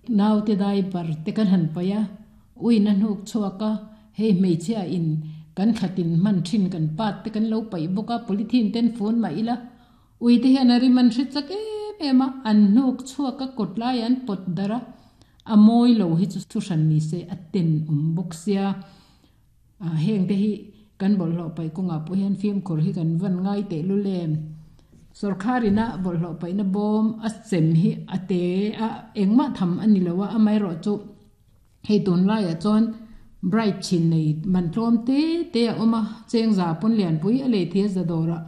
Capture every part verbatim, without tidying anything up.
Naute diaper te kan han paih a, uiin a hnuk chhuak a, hei hmeichhia in kan thlatin hman thin kan pat te kan lo paih bawk a, polythene ten fun mah ila ui te hian a rim an hre chak em em a, an hnuk chhuak a kawt lai an pawt darh a, a mawi lo hi chu thu hran ni se a ten awm bawk sia, ah heng te hi kan bawlhhlawh paih kawngah pawh hian fimkhur hi kan van ngai teh lul em. Sorkar ina bawlhhlawh paihna bawm a chem hi a te a engmah tham a ni lo a, amaherawhchu hei tunlaiah chuan bright chhin nei man tlawm te te a awm a, chengza pawn lianpui a lei thei a za dawrah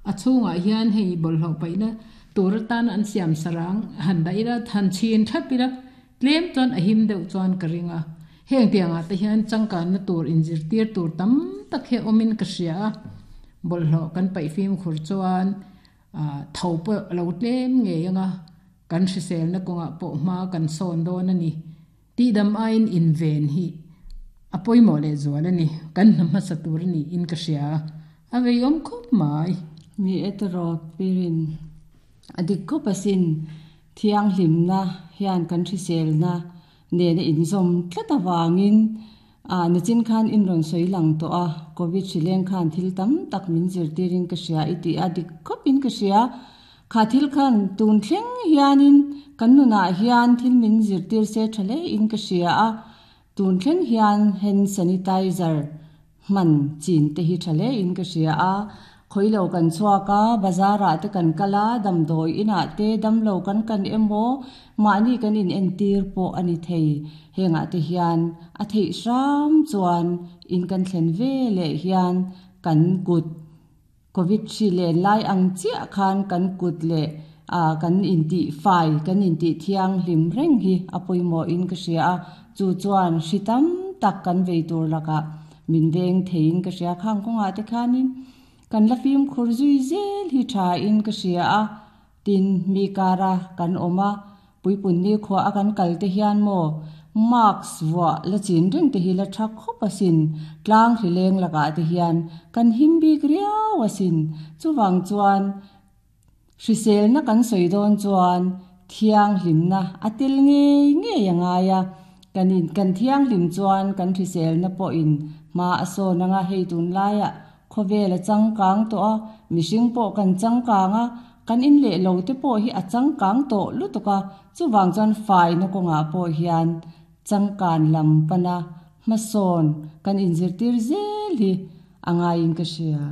a chhungah hian hei bawlhhlawh paihna tur atan an siam sarang han dah ila han chhin thlap ila tlem chuan a him deuh chuan ka ring a, heng tiangah te hian changkanna tur inzirtir tur tam tak hi a awmin ka hria a, bawlhhlawh kan paih fimkhur chuan ah tho pawh a lo tlem ngei anga kan hriselna kawngah pawh hma kan sawn dawn a ni. Tihdam aiin inven hi a pawimawh leh zual a ni, kan hna hmasa tur a niin ka hria a, a vei awm khawp mai. Ni e tawraw pirin a dik khawp asin thianghlimna hian kan hriselna nena inzawm tlat avangin ah nichin khan in rawn sawi lang tawh a, Covid hrileng khan thil tam tak min zirtirin ka hria i tih a dik khawpin ka hria. Kha thil khan tun thleng hianin kan nunah hian thil min zirtir se tha hle in ka hria a, tun thleng hian hand sanitizer hman chin te hi tha hle in ka hria a, khawilo kan chhuak a, bazar ah te kan kal a, damdawi inah te damlo kan kan emaw mahni kan in entir pawh a ni thei. Hengah te hian a theih hram chuan in kan thlen ve leh hian kan kut Covid hri len lai ang chiah khan kan kut leh ah kan intih fai kan intih thianghlim reng hi a pawimawh in ka hria a, chu chuan hri tam tak kan vei tur lakah min veng theiin ka hria. Khang kawngah te khanin kan la fimkhur zui zel hi tha in ka hria a, tin mi kara kan awm a, puipun ni khua a kan kal te hian maw mask vuah la chin reng te hi la tha khawp asin, tlang hri leng lakah te hian kan him bik riau asin. Chuvang chuan hriselna kan sawi dawn chuan thianghlimna a tel ngei ngei a ngai a, kan in kan thianghlim chuan kan hriselna pawhin hma a sawn anga hei tunlaiah khawvel a changkang tawh a, mihring pawh kan changkang a, kan in leh lo te pawh hi a changkang tawh lutuk a, chuvang chuan faina kawngah pawh hian changkan lam pana hmasawn kan inzirtir zel hi a ngaiin ka hria.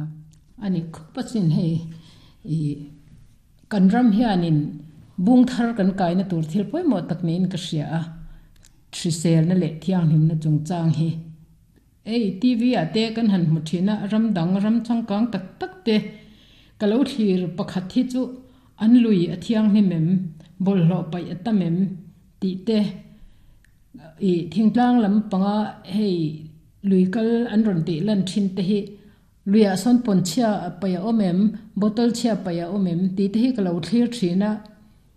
Ani khawp asin hei i kan ram hianin bung thar kan kaina tur thil pawimawh tak niin ka hria a, hriselna leh thianghlimna chungchang hi. Ei T V ah te kan han hmu thin a, ram dang ram changkang tak tak te ka lo thlir pakhat hi chu an lui a thianghlim em, bawlhhlawh paih a tam em tih te i thingtlang lam panga hei lui kal an rawn tih lan thin te hi luiah sawn pawn chhia paih a awm em, bottle chhia paih a awm em tih te hi ka lo thlir thin a,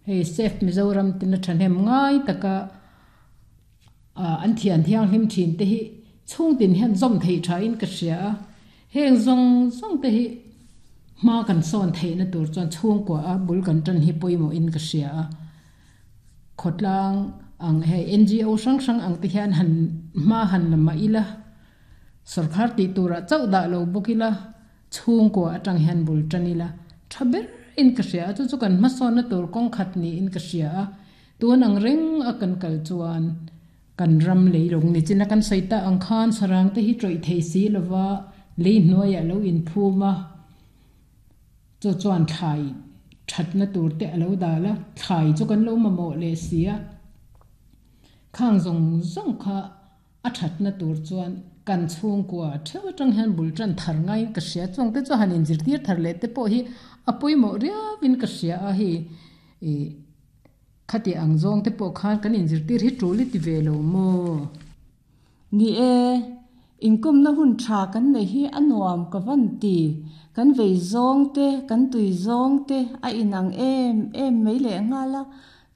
hei Safe Mizoram tina thahnem ngai taka ah an thian thianghlim thin te hi chhungtin hian zawm theih tha in ka hria a, heng zawng zawng te hi hma kan sawn theihna tur chuan chhungkua a bul kan tan hi pawimawh in ka hria a, khawtlang ang hei N G O hrang hrang ang te hian han hma han la mah ila, sorkar tih turah chauh dah lo bawk ila, chhungkua atang hian bul tan ila tha ber in ka hria a, chu chu kan hmasawnna tur kawng khat niin ka hria a, tun ang reng a kan kal chuan kan ram leilung ni china kan sawi ta ang khan sarang te hi tawih thei si lova lei hnuaiah lo inphum a, chu chuan thlai thatna tur te a lo dal a, thlai chu kan lo mamawh leh si a, khang zawng zawng kha a thatna tur chuan kan chhungkua theuh atang hian bul tan thar ngaiin ka hria, chuang te chu han inzirtir thar leh te pawh hi a pawimawh riauin ka hria a, hei i khati ang zawng te pawh khan kan inzirtir hi tul i ti ve lo maw. Ni e, inkawmna hun tha kan nei hi a nuam ka van ti, kan vei zawng te kan tui zawng te a inang em em mai leh nghal a,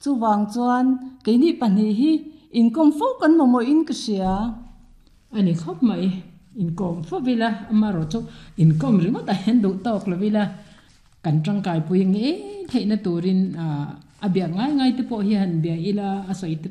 chuvang chuan keini pahnih hi inkawm fo kan mamawh in ka hria. Ani khawp mai, inkawm fo ila amaherawh chu inkawm ringawt a hian duh tawk lo ila kan tangkai pui ngei theihna turin ah a biak ngai ngai te pawh hi han bia ila a sawi te